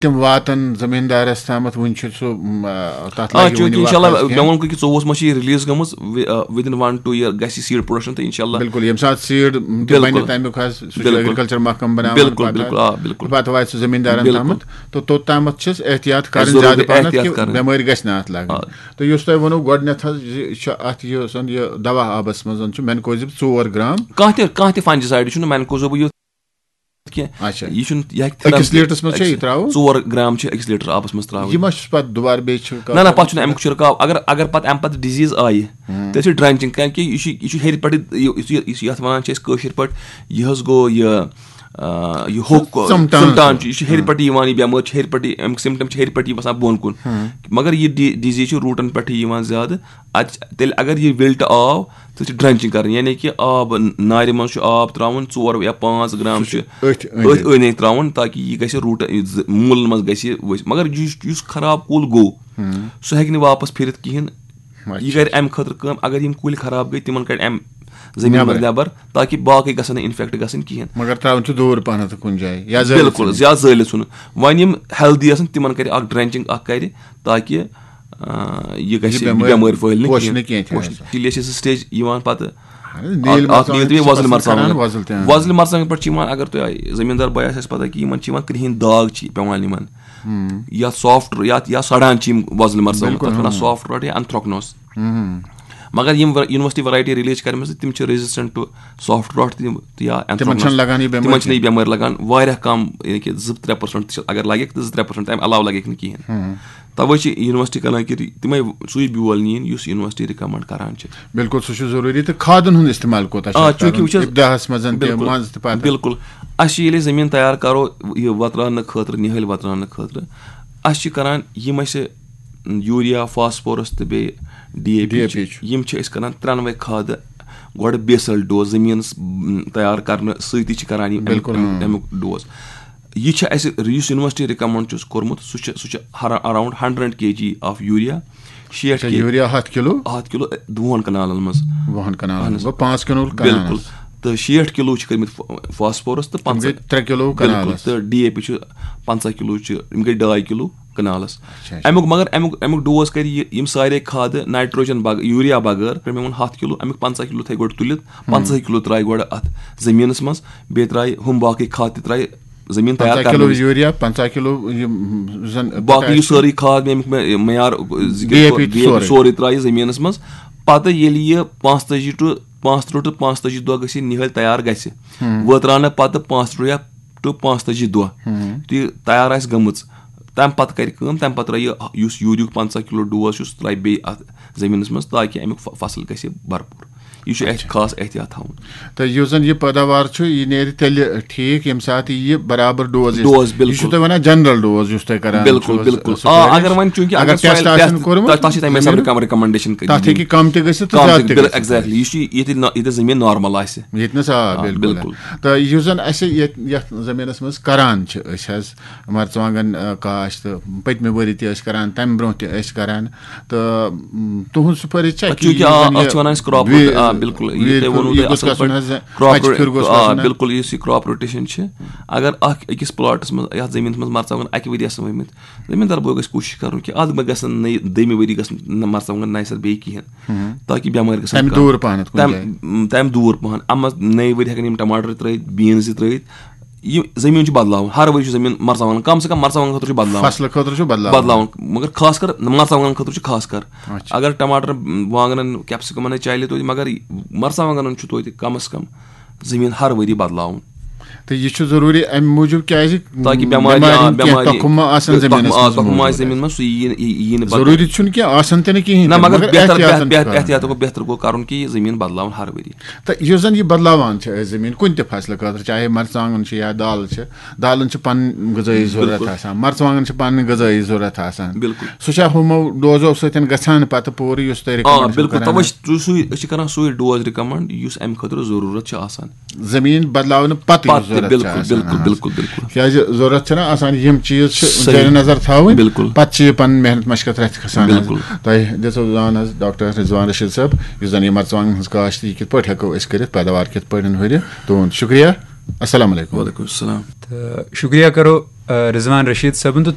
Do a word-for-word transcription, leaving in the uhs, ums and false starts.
تِم واتن زٔمیٖندارَس تامَتھ؟ وُنہِ چھُ سُہ، م، آ، تَتھ آ لَگہِ وُنہِ چوٗنٛکہِ وقت انشاءاللہ کینٛہہ۔ مےٚ ووٚن کہِ ژوٚوُہَس منٛز چھِ یہِ رِلیٖز گٔمٕژ، وِدِن وَن ٹُو یِیَر گژھِ یہِ سیٖڈ پرٛوڈَکشَن تہٕ انشاءاللہ۔ بِلکُل، ییٚمہِ ساتہٕ سیٖڈ تہِ بِلکُل۔ بَنہِ، تَمیُک حظ سُہ چھُ بِلکُل۔ ایگریکلچر محکمہٕ بَناوان۔ بِلکُل، پَتہٕ بِلکُل، آ، بِلکُل۔ پَتہٕ واتہِ سُہ زٔمیٖندارَن بِلکُل۔ تامَتھ، تہٕ توٚت تامَتھ چھِس احتیاط کَرٕنۍ ضروٗری زیادٕ پَہَن کہِ احتیاط کَرٕنۍ۔ بٮ۪مٲرۍ گژھِ نہٕ اَتھ لَگٕنۍ۔ آ۔ تہٕ یُس تۄہہِ ووٚنوُ گۄڈٕنٮ۪تھ حظ، یہِ چھُ اَتھ یہِ زَن یہِ دَوا آبَس منٛز زَن چھُ مینکوزِب ژور گرام۔ کانٛہہ تہِ کانٛہہ تہِ فنجیسائڈ چھُنہٕ مینکوزوبُک یُتھ کینٛہہ۔ اچھا۔ یہِ چھُنہٕ یہِ ہیٚکہِ أکِس تھرم تہِ لیٖٹرَس منٛز چھا یہِ ترٛاوُن؟ ژور گرام چھِ أکِس لیٖٹر آبَس منٛز ترٛاوٕنۍ۔ یہِ ما چھُ پَتہٕ دُبارٕ بیٚیہِ چھُ نہ نہ، پَتہٕ چھُنہٕ اَمیُک چھُرکاو۔ اگر اگر پَتہٕ اَمہِ پَتہٕ ڈِزیٖز آیہِ، تیٚلہِ چھُ ڈرٛنچِنٛگ، کیٛازِ کہِ یہِ چھُ یہِ چھُ ہیٚرِ پٮ۪ٹھٕے، یہِ- یُس یہِ- یُس یَتھ وَنان چھِ أسۍ کٲشِر پٲٹھۍ، یہِ حظ گوٚو یہِ آ، یہِ ہوٚکھ ژَمٹان۔ ژَمٹان چھُ، یہِ چھُ ہیٚرِ پٮ۪ٹھٕے یِوان، یہِ بٮ۪مٲرۍ چھِ ہیٚرِ پٮ۪ٹھٕے، اَمیُک سِمٹَم چھِ ہیٚرِ پٮ۪ٹھٕے وَسان بۄن کُن۔ مگر یہِ ڈی ڈِزیٖز چھِ روٗٹَن پٮ۪ٹھٕے یِوان زیادٕ۔ اَتہِ چھِ- تیٚلہِ اگر یہِ وِلٹہٕ آو، تہٕ چھِ ڈرٛنچِنٛگ کَرٕنۍ، یعنی کہِ آب نارِ منٛز چھُ آب ترٛاوُن، ژور یا پانٛژھ گرام چھُ أتھۍ أنٛدۍ أتھۍ أنٛدۍ أنٛدۍ ترٛاوُن، تاکہِ یہِ گژھِ روٗٹ یہِ زٕ- موٗلَن منٛز گژھِ یہِ ؤسۍ۔ مگر یُس یُس خراب کُل گوٚو، سُہ ہیٚکہِ نہٕ واپَس پھِرِتھ کِہیٖنۍ۔ یہِ کَرِ اَمہِ خٲطرٕ کٲم، اگر یِم کُلۍ خراب گٔے، تِمَن کَڑِ اَمہِ زٔمیٖن منٛز نٮ۪بر، تاکہِ باقٕے گژھن نہٕ اِنفیکٹ گژھٕنۍ کِہیٖنۍ۔ مگر ترٛاوُن چھُ دوٗر پَہَنَتھ کُنہِ جایہِ یا زٲلِتھ بِلکُل، ژھٕنُن۔ یا زٲلِتھ ژھٕنُن۔ وۄنۍ یِم ہیلدی آسَن، تِمَن کَرِ اَکھ ڈرٛنچِنٛگ اَکھ کَرِ، تاکہِ آ، یہِ گژھِ یہِ یہِ بٮ۪مٲرۍ بٮ۪مٲرۍ پھٲلہِ نہٕ پوشہِ کِہیٖنۍ۔ نہٕ کینٛہہ تہِ پوشہِ آسان۔ نہٕ۔ تیٚلہِ ٲسۍ أسۍ سٹیج یِوان پَتہٕ نیٖل اَکھ- اَکھ نیٖل مرژٕوانٛگن تہِ چھِ وۄزٕلۍ سَخت مرژٕوانٛگن۔ کھَران، وۄزٕلۍ تہِ، آ۔ وۄزٕلۍ مرژٕوانٛگن پٮ۪ٹھ چھِ یِوان، اگر تۄہہِ زٔمیٖندار بٲے آسہِ اَسہِ پَتہ کہِ یِمَن چھِ یِوان کرٛہِنۍ داغ چھِ پٮ۪وان یِمَن، یا سافٹ یا یا سڑان چھِ یِم وۄزٕلۍ مرژٕوانٛگن، بِلکُل، تَتھ وَنان ہاں۔ سافٹ راٹ یا انتھرٛکنوس۔ مگر یِم یونیورسٹی ورایٹی ریلیٖز چھِ کَرِمَژٕ، تِم چھِ ریزسٹنٹ ٹو سافٹ راٹ تہِ یا تِمن چھَنہٕ لگان یہِ بٮ۪مٲرۍ تِمن چھِنہٕ یہِ بٮ۪مٲرۍ لگان۔ واریاہ کَم، یعنی کہِ زٕ ترٛےٚ پرسنٹ اگر لگہِ تہٕ زٕ ترٛےٚ پرسنٹ، تَمہِ علاوٕ لگہِ نہٕ کِہینۍ۔ تَوَے چھِ یونیورسٹی کران کہِ تِمے سُے بیول نِیِن یُس یونیورسٹی رِکمنڈ کران چھِ۔ بِلکُل، سُہ چھُ ضروٗری۔ تہٕ کھادن ہُنٛد استعمال کوٗتاہ چھُ آ، اَتھ چوٗنٛکہِ کرُن؟ وٕچھ حظ، ابتداہس منٛز تہِ، بِلکُل، منٛز تہِ پتہٕ۔ بِلکُل۔ اَسہِ چھِ ییٚلہِ زٔمیٖن تیار کرو، یہِ وۄتراونہٕ خٲطرٕ، نِہٲلۍ وۄتراونہٕ خٲطرٕ، اَسہِ چھِ کران یِم اَسہِ یوٗریا، فاسفورس تہٕ بیٚیہِ D A P D A P چھِ، چھُ۔ یِم چھِ أسۍ کران ترٛٮ۪نوَے کھادٕ گۄڈٕ بیسل ڈوز، زٔمیٖنَس، م، تیار کرنہٕ سۭتی چھِ کران یِم اَمیُک، بِلکُل، اَمیُک، اۭں۔ اَمیُک ڈوز۔ یہِ چھِ اَسہِ، یُس یونیورسٹی رِکمنڈ چھُس کوٚرمُت، سُہ چھُ، سُہ چھُ ہر-، around hundred K G of urea, شیٹھ اچھا، کے، یوٗریا ہَتھ کِلوٗ؟ ہَتھ کِلوٗ دۄن کنالن منٛز۔ وُہن کنالن اہن منٛز حظ۔ گوٚو پانٛژھ کِلوٗ بِلکُل۔ کنالس۔ تہٕ شیٹھ کِلوٗ چھِ کٔرمٕتۍ فا-، فاسفورس تہٕ تِم گٔے پنٛژاہ ترٛےٚ کِلوٗ بِلکُل۔ کنالس۔ تہٕ ڈی اے پی چھُ پنٛژاہ کِلوٗ چھِ، یِم گٔے ڈاے کِلوٗ کنالس۔ اچھا، اچھا۔ اَمیُک مگر اَمیُک اَمیُک ڈوز کَرِ یہِ، یِم سارے کھادٕ نایٹروجن بغٲر، یوٗریا بغٲر، مےٚ ووٚن ہَتھ کِلوٗ، اَمیُک پنٛژاہ کِلوٗ تھٲے گۄڈٕ تُلِتھ، پنٛژاہ کِلوٗ ترٛایہِ گۄڈٕ اَتھ زٔمیٖنَس منٛز، بیٚیہِ ترٛایہِ ہُم باقٕے کھاد تہِ ترٛایہِ زٔمیٖن تیار پنٛژاہ کِلوٗ کرنہٕ وِزِ۔ یوٗریا، پنٛژاہ کِلوٗ یِم زن باقٕے یُس سٲرٕے کھاد مےٚ اَمیُک مےٚ معیار ذِکِر ڈی اے پی کوٚر، تہِ ڈی اے پی سورُے۔ سورُے ترٛایہِ زٔمیٖنَس منٛز۔ پَتہٕ ییٚلہِ یہِ پانٛژتٲجی ٹُو پانٛژترٕٛہ ٹُو پانٛژتٲجی دۄہ گٔژھِتھ نِہٲلۍ تیار گژھِ، وٲتراونہٕ پَتہٕ پانٛژترٕٛہ یا ٹُو پانٛژتٲجی دۄہ تہٕ یہِ تیار آسہِ گٔمٕژ، تَمہِ پَتہٕ کَرِ کٲم، تَمہِ پَتہٕ ترٛایہِ یہِ، یُس یوٗریُک پنٛژاہ کِلوٗ ڈوز چھُ، سُہ ترٛایہِ بیٚیہِ اَتھ زٔمیٖنَس منٛز، تاکہِ اَمیُک ف-، فصل گژھِ بھرپوٗر۔ یہِ چھُ اَسہِ خاص احتیاط تھاوُن۔ تہٕ یُس زن یہِ پٲداوار چھُ، یہِ نیرِ تیٚلہِ ٹھیٖک، ییٚمہِ ساتہٕ یہِ برابر ڈوز یی۔ ڈوز، یہِ بِلکُل۔ چھُ تۄہہِ ونان جنرل ڈوز یُس تۄہہِ کران بِلکُل، چھُ بِلکُل۔ سُہ آ، کرِ۔ اگر وۄنۍ چوٗنٛکہِ اگر اگر ٹیسٹ سۄیِل آسن ٹیسٹ، کوٚرمُت تۄہہِ، تۄہہِ چھِ تَمہِ حسابہٕ زٔمیٖنُک، رِکم-، رِکمنڈیشن کَرٕنۍ۔ تَتھ ہیٚکہِ کم تہِ گٔژھِتھ تہٕ کم زیادٕ تہِ، تہِ بِل-، گٔژھِتھ۔ exactly۔ یہِ چھُ ییٚتہِ نا-، ییٚتہِ زٔمیٖن نارمل آسہِ۔ ییٚتہِ نَس، آ، آ، بِلکُل۔ بِلکُل۔ تہٕ یُس زن اَسہِ ییٚتہِ، یَتھ زٔمیٖنَس منٛز کران چھِ أسۍ حظ، مرژٕوانٛگن، آ، کاشت، پٔتمہِ ؤری تہِ ٲسۍ کران، تَمہِ برٛونٛہہ تہِ ٲسۍ کران، تہٕ، م، تُہُنٛد سُفٲرِش چھا کہِ چوٗنٛکہِ، یُس آ، زن یہِ اَتھ چھِ وَنان أسۍ crop وی-، روٹ-، آ، بِلکُل، یہِ وی-، تۄہہِ ووٚنوُ یہِ تۄہہِ گوٚژھ اَصٕل گژھُن پٲٹھۍ، حظ، crop اَچھِ پھِرِ crop گوٚژھ root-، آ، گژھُن حظ۔ بِلکُل، یُس یہِ crop rotation چھِ، اگر اَکھ أکِس پلاٹَس منٛز، یَتھ زٔمیٖنَس منٛز مرژٕوانٛگن اَکہِ ؤرۍ آسَن ؤمٕتۍ، زٔمیٖندار بوے گژھِ کوٗشِش کَرُن کہِ اَتھ ما گژھن نٔے، دوٚیمہِ ؤری گژھن نہٕ مرژٕوانٛگن نَیہِ سَرٕ بیٚیہِ کِہیٖنۍ، تاکہِ بٮ۪مٲرۍ گژھن تَمہِ کَم۔ دوٗر پَہنَتھ کُنہِ تَمہِ، جایہِ۔ م، تَمہِ دوٗر پَہَن۔ اَما نٔے ؤری ہٮ۪کَن یِم ٹماٹر ترٲوِتھ، بیٖنز تہِ ترٲوِتھ۔ یہِ زٔمیٖن چھُ بدلاوُن، ہر ؤری چھُ زٔمیٖن مرژٕوانٛگن، کم سے کم مرژٕوانٛگن خٲطرٕ چھُ بدلاوُن۔ فصلہٕ خٲطرٕ چھُ بدلاوُن۔ بدلاوُن، مگر خاص کر مرژٕوانٛگن خٲطرٕ چھُ خاص کر۔ اچھا۔ اگر ٹماٹر، وانٛگنن، کیپسیکمن چلہِ توتہِ، مگر مرژٕوانٛگنن چھُ توتہِ کم از کم زٔمیٖن ہر ؤری بدلاوُن۔ تہٕ یہِ چھُ ضروٗری اَمہِ موٗجوٗب، کیازِ تاکہِ بٮ۪مارِ، بٮ۪مارِ آ، ہُنٛد کینٛہہ بٮ۪مارِ، تخم، زٔمیٖنَس آ، منٛز تخم ما آسہِ موٗجوٗد۔ زٔمیٖنَس منٛز، سُہ یی نہٕ، یی، یی نہٕ پَتہٕ۔ ضروٗری چھُنہٕ کینٛہہ، آسن تہِ نہٕ کِہیٖنۍ نہ، تہِ، مگر بہتر، احتیاطن بہتر، چھُ بہتر، کَرُن۔ احتیاط گوٚو، بہتر گوٚو کَرُن کہِ یہِ زٔمیٖن بدلاوُن ہر ؤری۔ تہٕ یُس زَن یہِ بدلاوان چھِ أسۍ زٔمیٖن کُنہِ تہِ فصلہٕ خٲطرٕ، چاہے مرژٕوانٛگُن چھُ یا دالہٕ چھِ، دالَن چھِ پَنٕنۍ غذٲیی ضروٗرت بِلکُل۔ آسان، مرژٕوانٛگُن چھِ پَنٕنۍ غذٲیی ضروٗرت آسان۔ بِلکُل۔ سُہ چھا ہُمو ڈوزو سۭتۍ گژھان پَتہٕ پوٗرٕ یُس تۄہہِ آ، recommend چھُو بِلکُل، کران؟ تَوَے چھِ سُے، أسۍ چھِ کران سُے ڈوز recommend یُس اَمہِ خٲطرٕ ضروٗرت چھِ آسان۔ زٔمیٖن بدلاونہٕ پَتہٕ یُس پَتہٕ تہِ، ضروٗرت چھِ بِلکُل، آسان، بِلکُل، آ۔ بِلکُل، بِلکُل۔ کیازِ ضروٗرت چھِنہ آسان، یِم چیٖز چھِ صحیح۔ زیر نظر تھاوٕنۍ، بِلکُل۔ پَتہٕ چھِ یہِ پَنٕنۍ محنت مَشقت رَتھِ کھسان حظ۔ بِلکُل۔ تۄہہِ دِژو زان حظ ڈاکٹر رضوان رشیٖد صٲب، یُس زَن یہِ مرژٕوانٛگن ہٕنٛز کاشت، یہِ کِتھ پٲٹھۍ ہٮ۪کو أسۍ کٔرِتھ، پیداوار کِتھ پٲٹھۍ ہُرِ۔ تُہُنٛد شُکریہ۔ السلام علیکم۔ وعلیکم السلام۔ تہٕ شُکریہ کرو، آ، رضوان رشیٖد صٲبُن تہٕ